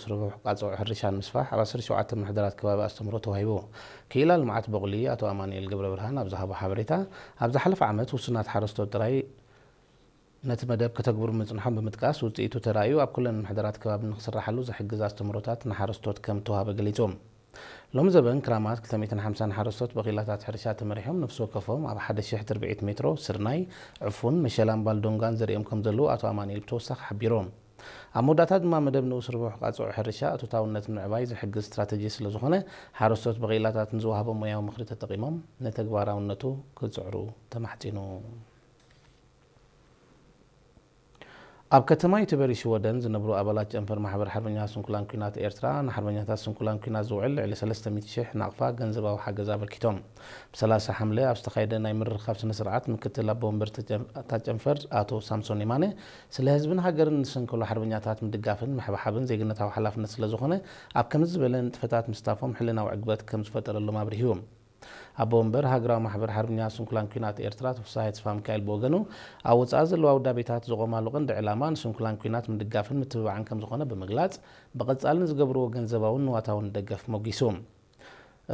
ስርሑ ቃጽዖ ሕርሻን ምስፋሕ ኣብ ዓሰርተ ሸውዓተ ምሕደራት ከባቢ ኣስተምህሮ ተዋሂቡ። ክኢላ ልምዓት በቑሊ ኣቶ ኣማኑኤል ገብረብርሃን ኣብ ዝሃቦ ሓበሬታ፣ ኣብ ዝሓለፈ ዓመት ውሱናት ሓረስቶት ጥራይ ነቲ መደብ ከተግብሩ ምጽንሖም ብምጥቃስ፣ ውጽኢቱ ተራእዩ ኣብ ኩለን ምሕደራት ከባቢ ንክስራሓሉ ዝሕግዝ ኣስተምህሮታት ንሓረስቶት ከም ተዋሃበ ገሊጹ። ሎሚ ዘበን ክራማት ክልተ ሚእትን ሓምሳን ሓረስቶት ብኺላታት ሕርሻ ተመሪሖም ነፍሲ ወከፎም ኣብ ሓደ ሺሕ ትርብዒት ሜትሮ ስርናይ፣ ዕፉን፣ መሸላን ባልዶንጋን ዘሪኦም ከም ዘለዉ ኣቶ ኣማኑኤል ብተወሳኺ ሓቢሩ። ኣብ መወዳእታ ድማ መደብ ንኡስ ርቡሕ ቃጽዑ ሕርሻ እቶታውነት ንምዕባይ ዝሕግዝ ስትራተጂ ስለ ዝኾነ፣ ሓረስቶት ብኽኢላታት ንዝወሃቦም ሞያዊ ምኽሪ ተጠቒሞም ንተግባራውነቱ ክጽዕሩ ተማሕጺኑ። ኣብ ከተማ ዩቲበሪ ሽወደን ዝነብሩ ኣባላት ጨንፈር ማሕበር ሓርበኛ ስንኩላን ኲናት ኤርትራ ንሓርበኛታት ስንኩላን ኲናት ዝውዕል ልዕሊ ሰለስተ ሚእቲ ሽሕ ናቕፋ ገንዘባዊ ሓገዝ ኣበርኪቶም። ብ ሰላሳ ሓምለ ኣብ ዝተኻየደ ናይ ምርኻብ ስነ ስርዓት ምክትል ኣቦ ወንበር ተጨ-፣ እታ ጨንፈር ኣቶ ሳምሶን የማነ ስለ ህዝብን ሃገርን ንሰንከሉ ሓርበኛታት ምድጋፍን ምሕብሓብን ዜግነታዊ ሓላፍነት ስለ ዝኾነ ኣብ ከምዚ ዝበለ ንጥፈታት ምስታፎም ሕልናዊ ዕግበት ከም ዝፈጠረሎም ኣብሪሁ። ኣቦ ወንበር ሃገራዊ ማሕበር ሓርበኛ ስንኩላን ኲናት ኤርትራ ኣቶ ፍስሃየ ተስፋ ሚካኤል ብወገኑ ኣብ ወጻኢ ዘለዋ ውዳቤታት ዝቖማሉ ቀንዲ ዕላማ ንስንኩላን ኲናት ምድጋፍን ምትብባዕን ከም ዝኾነ ብምግላጽ ብቐጻሊ ንዝገብርዎ ገንዘባውን ንዋታውን ደገፍ ሞጊሱ።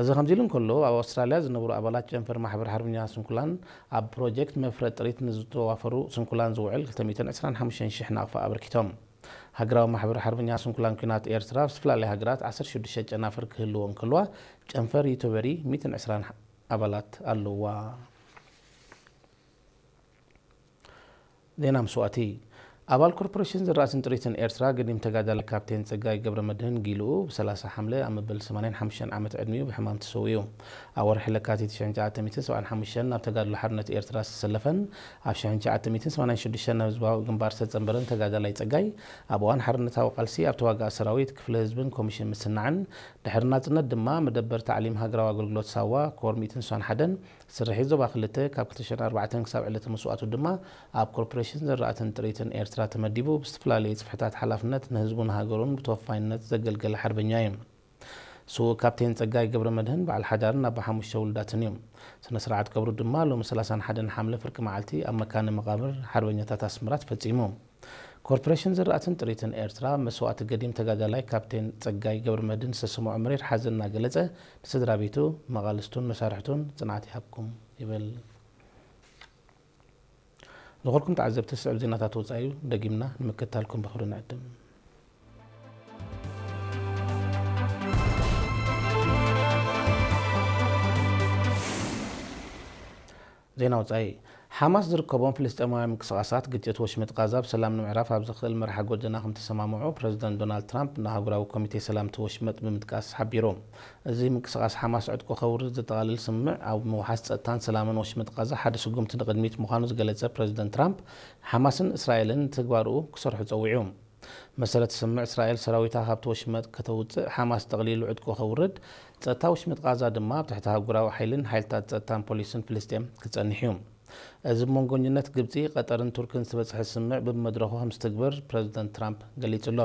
እዚ ከምዚ ኢሉ እንከሎ፣ ኣብ ኣውስትራልያ ዝነብሩ ኣባላት ጨንፈር ማሕበር ሓርበኛ ስንኩላን ኣብ ፕሮጀክት መፍረ ጥሪት ንዝተዋፈሩ ስንኩላን ዝውዕል ክልተ ሚእትን ዕስራን ሓሙሽተን ሽሕ ናቕፋ ኣበርኪቶም። ሃገራዊ ማሕበር ሓርበኛ ስንኩላን ኲናት ኤርትራ ኣብ ዝተፈላለያ ሃገራት ዓሰርተ ሽዱሽተ ጨናፍር ክህልዎ እንከልዋ፣ ጨንፈር ዩቲበሪ ሚእትን ዕስራን ኣባላት ኣለዋ። ዜና መስዋእቲ። ኣባል ኮርፖሬሽን ዝራእትን ጥሪትን ኤርትራ፣ ገዲም ተጋዳላይ ካፕቴን ጸጋይ ገብረመድህን ጊልኡ ብ ሰላሳ ሓምለ ኣብ መበል ሰማንያን ሓሙሽተን ዓመት ዕድሚኡ ብሕማም ተሰዊኡ። ኣብ ወርሒ ለካቲት ሽሕን ትሽዓተ ሚእትን ሰብዓን ሓሙሽተን ናብ ተጋድሎ ሓርነት ኤርትራ ዝተሰለፈን ኣብ ሽሕን ትሽዓተ ሚእትን ሰማንያን ሽዱሽተን ናብ ህዝባዊ ግንባር ዝተጸንበረን ተጋዳላይ ጸጋይ፣ ኣብ እዋን ሓርነታዊ ቃልሲ ኣብ ተዋጋኢ ሰራዊት፣ ክፍለ ህዝብን ኮሚሽን ምስናዕን፣ ድሕሪ ናጽነት ድማ መደበር ታዕሊም ሃገራዊ ኣገልግሎት ሳዋ፣ ኮር ሚእትን ስሳን ሓደን፣ ስርሒት ዞባ ክልተ ካብ ክልተ ሽሕን ኣርባዕተን ክሳብ ዕለተ መስዋእቱ ድማ ኣብ ኮርፖሬሽን ዝራእትን ጥሪትን ኤርትራ ተመዲቡ ብዝተፈላለየ ጽፍሕታት ሓላፍነት ንህዝቡን ሃገሩን ብተወፋይነት ዘገልገለ ሓርበኛ እዩ። ስዉእ ካፕቴን ጸጋይ ገብረመድህን በዓል ሓዳርን ኣቦ ሓሙሽተ ውሉዳትን እዩ። ስነ ስርዓት ቀብሩ ድማ ሎሚ ሰላሳን ሓደን ሓምለ ፍርቂ መዓልቲ ኣብ መካነ መቓብር ሓርበኛታት ኣስመራ ተፈጺሙ። ኮርፖሬሽን ዝራእትን ጥሪትን ኤርትራ፣ መስዋእቲ ገዲም ተጋዳላይ ካፕቴን ጸጋይ ገብረመድህን ዝተሰምዖ መሪር ሓዘን እናገለጸ፣ ንስድራ ቤቱ፣ መቓልስቱን መሳርሕቱን ጽንዓት ይሃብኩም ይብል። ዝኾንኩም ተዓዘብቲ፣ ስዕብ ዜናታት ወጻኢ ደጊምና ንምክትታልኩም ብኽብሪ ንዕድም። ዜና ወጻኢ። ሓማስ ዝርከቦም ፍልስጤማውያን ምንቅስቓሳት ግጭት ወሽመጥ ቃዛ ብሰላም ንምዕራፍ ኣብ ዘኽእል መርሓ ጎደና ከም ተሰማምዑ ፕረዚደንት ዶናልድ ትራምፕ ንኣህጉራዊ ኮሚቴ ሰላም እቲ ወሽመጥ ብምጥቃስ ሓቢሩ። እዚ ምንቅስቓስ ሓማስ ዕጥቁ ከውርድ ዘጠቓልል ስምምዕ ኣብ ምውሓስ ጸጥታን ሰላምን ወሽመጥ ቃዛ ሓደ ስጉምቲ ንቕድሚት ምዃኑ ዝገለጸ ፕረዚደንት ትራምፕ፣ ሓማስን እስራኤልን ንትግባርኡ ክሰርሑ ጸዊዑ። መሰረት ስምምዕ፣ እስራኤል ሰራዊታ ካብቲ ወሽመጥ ከተውጽእ፣ ሓማስ ጠቕሊሉ ዕጥቁ ከውርድ፣ ጸጥታ ወሽመጥ ቃዛ ድማ ኣብ ትሕቲ ኣህጉራዊ ሓይልን ሓይልታት ጸጥታን ፖሊስን ፍልስጤም ክጸንሕ እዩ። እዚ ብመንጎኝነት ግብጺ፣ ቀጠርን ቱርክን ዝተበጽሐ ስምምዕ ብመድረኹ ከም ዝትግበር ፕረዚደንት ትራምፕ ገሊጹ ኣሎ።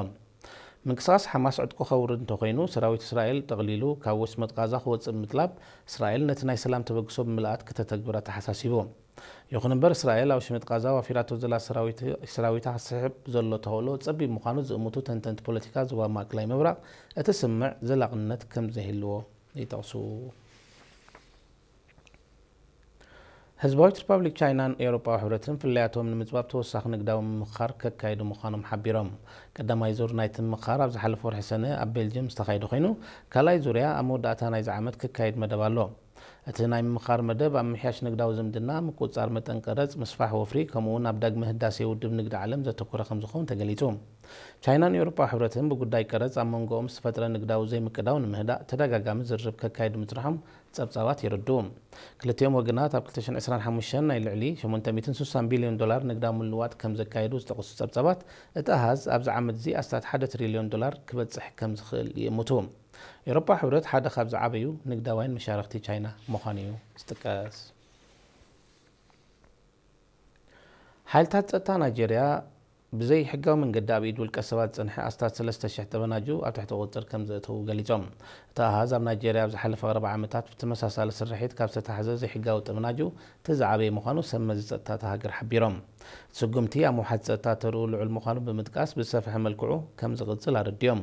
ምንቅስቓስ ሓማስ ዕጥቁ ከውርድ እንተኾይኑ፣ ሰራዊት እስራኤል ጠቕሊሉ ካብ ወሽመጥ ቃዛ ክወጽእ ብምጥላብ፣ እስራኤል ነቲ ናይ ሰላም ተበግሶ ብምልኣት ክተተግብር ኣተሓሳሲቡ። ይኹን እምበር፣ እስራኤል ኣብ ወሽመጥ ቃዛ ዋፊራቶ ዘላ ሰራዊት-፣ ሰራዊታ ክስሕብ ዘሎ ተኽእሎ ጸቢብ ምዃኑ ዝእምቱ ተንተንቲ ፖለቲካ ዞባ ማእከላይ ምብራቕ፣ እቲ ስምምዕ ዘላቕነት ከም ዘይህልዎ ይጠቕሱ። ህዝባዊት ሪፓብሊክ ቻይናን ኤውሮጳዊ ሕብረትን ፍልልያቶም ንምጽባብ ተወሳኺ ንግዳዊ ምምኽኻር ከካይዱ ምዃኖም ሓቢሮም። ቀዳማይ ዙር ናይቲ ምምኽኻር ኣብ ዝሓለፈ ወርሒ ሰነ ኣብ ቤልጅየም ዝተኻየደ ኮይኑ፣ ካልኣይ ዙርያ ኣብ መወዳእታ ናይዚ ዓመት ክካየድ መደብ ኣሎ። እቲ ናይ ምምኽኻር መደብ ኣብ ምሕያሽ ንግዳዊ ዝምድና፣ ምቁጽጻር መጠን ቀረጽ፣ ምስፋሕ ወፍሪ፣ ከምኡ እውን ኣብ ዳግመ ህዳሴ ውድብ ንግዲ ዓለም ዘተኮረ ከም ዝኸውን ተገሊጹ። ቻይናን ኤውሮጳዊ ሕብረትን ብጉዳይ ቀረጽ ኣብ መንጎኦም ዝተፈጥረ ንግዳዊ ዘይምቅዳው ንምህዳእ ተደጋጋሚ ዝርርብ ከካይዱ ምጽንሖም ጸብጻባት የረድኡ። ክልቲኦም ወገናት ኣብ ክልተ ሽሕን ዕስራን ሓሙሽተን ናይ ልዕሊ ሸሞንተ ሚእትን ስሳን ቢልዮን ዶላር ንግዳዊ ምልውዋጥ ከም ዘካየዱ ዝጠቕሱ ጸብጻባት፣ እቲ ኣሃዝ ኣብዚ ዓመት እዚ ኣስታት ሓደ ትሪልዮን ዶላር ክበጽሕ ከም ዝኽእል ይእምቱ። ኤውሮጳ ሕብረት ሓደ ካብ ዝዓበዩ ንግዳውያን መሻርኽቲ ቻይና ምዃኑ እዩ ዝጥቀስ። ሓይልታት ጸጥታ ናይጄርያ ብዘይሕጋዊ መንገዲ ኣብ ኢድ ውልቀ ሰባት ዝጸንሐ ኣስታት ሰለስተ ሽሕ ጠበናጁ ኣብ ትሕቲ ቁጽጽር ከም ዘእተዉ ገሊጾም። እቲ ኣሃዝ ኣብ ናይጄርያ ኣብ ዝሓለፈ ቀረባ ዓመታት ብተመሳሳሊ ስርሒት ካብ ዝተታሕዘ ዘይሕጋዊ ጠበናጁ እቲ ዝዓበየ ምዃኑ ሰብ መዚ ጸጥታ እታ ሃገር ሓቢሮም። እቲ ስጉምቲ ኣብ ምውሓስ ጸጥታ ተርኡ ልዑል ምዃኑ ብምጥቃስ ብዝሰፍሐ መልክዑ ከም ዝቕጽል ኣረዲኦም።